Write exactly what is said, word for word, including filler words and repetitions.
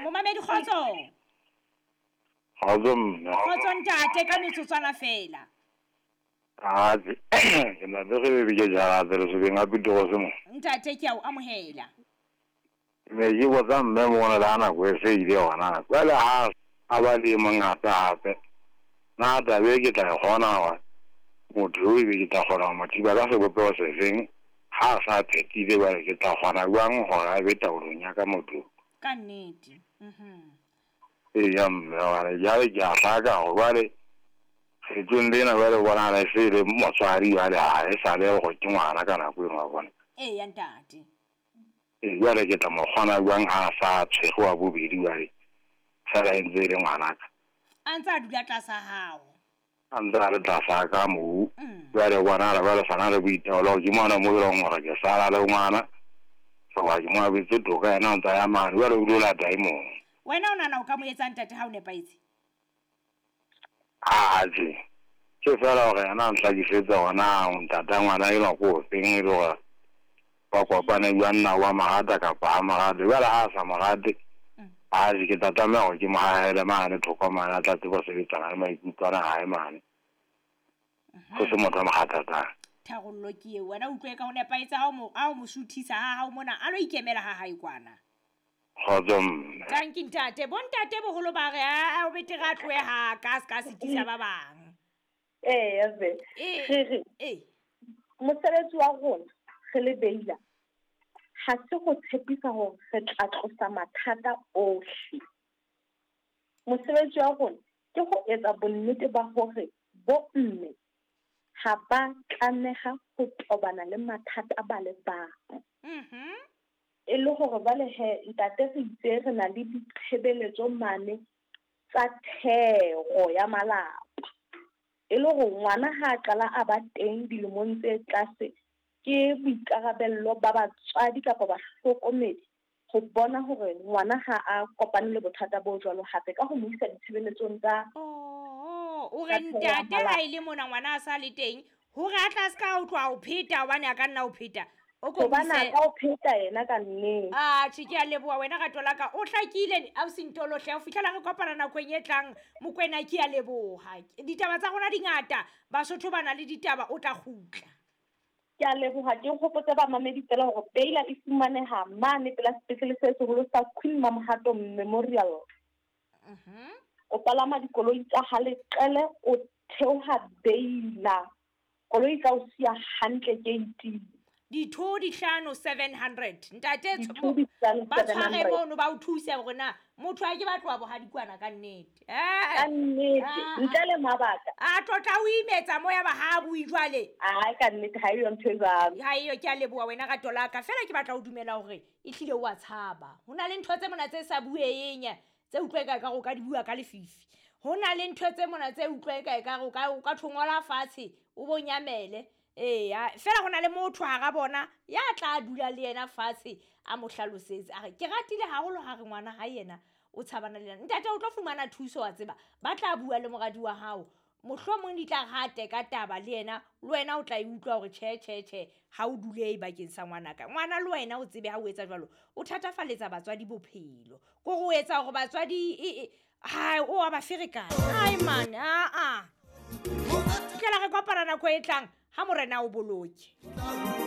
Momamedi kgotso. Kgotso mme. Kgotso ntate ka metsotswana fela. Ah, ke na le re ke jara re se beng a pitoro se mo. Ntate ke a o amohela. Me ke botsa mme mona la nako e se ile hona. Jwale ha a ba le mongata hape. Na taba e ke tla e kgona wa motho o ebe ke tla kgona ho mo thiba ka sebopeho se feng ha a sa phethile jwale ke tla kgona jwang hore a be taolong ya ka motho. Ka nnete. Mhm. Eya mme hobane jwale ke a hlaka hore jwale kgetsong lena jwale bonahala e se le motswadi jwale ha e sa le hore ke ngwana ka nako eno wa bona. Eya ntate. Ee jwale ke tla mo kgona jwang ha a sa tshwere wa bobedi jwale fela e ntse e le ngwanaka. A ntse a dula tlasa hao. A ntse a le tlasa ka moo. Jwale bonahala jwale sa na le boitaolo ke mona mo e leng hore ke sala le ngwana. Hoba ke mo abetse toka yena o ntsa ya mane jwale o dula lata e mong. Wena o nahana o ka mo etsa ntate ha o nepahetse? Atjhe. Ke fela hore yena a nhlakisetsa hore na ntata ngwana enwa ke ofeng e le hore ba kopane jwang na wa mo rata kapa ha mo rate. Jwale ha a sa mo rate, atjhe ke tla tlameha hore ke mo hahele mane thoko mane a tla tseba ho sebetsana le maikutlo ana a hae mane. Ho se motho a mo kgathatsang. Tharollo ke eo. Wena utlwe ka ho nepahetse ha o mo ha o mo suthisa ha hao mona a lo ikemela ha hae kwana. Kgotso mme. Tanki ntate. Bo ntate boholo ba re a o betere a tlohe ha ka se ka sitisa ba bang. Ee, ve. Ee. Re re. Ee. Mosebetsi wa rona re le Beila ha se go tshepisa hore re tla tlosa mathata ohle. Mosebetsi wa rona ke ho etsa bonnete ba hore bo mme ha ba tlameha ho tobana le mathata ba le bang. Mhm. E le hore jwale he ntate re itse re na le ditshebeletso mane tsa thero ya malapa. E le hore ngwana ha a qala a ba teng dilemong tse tlase ke boikarabello ba batswadi kapa bahlokomedi ho bona hore ngwana ha a kopane le bothata bo jwalo hape ka ho mo isa ditshebeletsong tsa Oh, o re tsa thero ya ntate ha malapa. e le mona ngwana a sa le teng hore a tla ska utlwa ho pheta hobane a ka nna ho pheta. O ko Hobane a buise ka o pheta yena ka nnete. Atjhe ke a leboha wena rato la ka. O hlakile ausi Ntolo hle ho fihlela re kopana nakong e tlang. Mokwena ke a leboha. Ditaba tsa rona di ngata. Basotho ba na le ditaba o tla kgutla. Ke a leboha ke hopotse bamamedi fela hore Beila e fumaneha mane pela sepetlele se seholo sa Queen Mamohato Memorial. Mhm. O palama dikoloi tsa ha Leqele o theoha Beila. Koloi e tla o siya hantle gate-ing. Ditho di hlano seven hundred. Ntate Ditho di hlano ba seven tshware hundred. mono ba o thuse hore na motho a ke ba tloha bohadikwana ka nnete. Eh. Ka nnete, Ah, ntle le mabaka. A tlotla o imetsa moya ba ha bui jwale. Ai ka nnete ha eyo ntho e jwalo. Ha eyo ke a leboha wena rato la ka. Fela ke batla ho dumela hore ehlile o a tshaba. Ho na le ntho tse mona tse sa bueng tse utlwe ka ka o ka di bua ka lefifi. Ho na le ntho tse mona tse utlwe ka ka o ka o ka thongola fatshe o bo nyamele. Eya, fela ho na le motho hara bona ya tla dula le yena fatshe a mo hlalosetse a re ke ratile haholo ha re ngwana ha yena o tshabana le yena. Ntate o tlo fumana thuso wa tseba ba tla bua le moradi wa hao mohlomong di tla rate ka taba le yena le wena o tla e utlwa hore tjhe tjhe tjhe ha o dule bakeng sa ngwanaka. Ngwana le wena o tsebe ha o etsa jwalo o thatafaletsa batswadi bophelo ko go etsa hore batswadi e ha o a ba ferekana. Ai man a a. Tlela re kopana nako e tlang ha morena o boloke.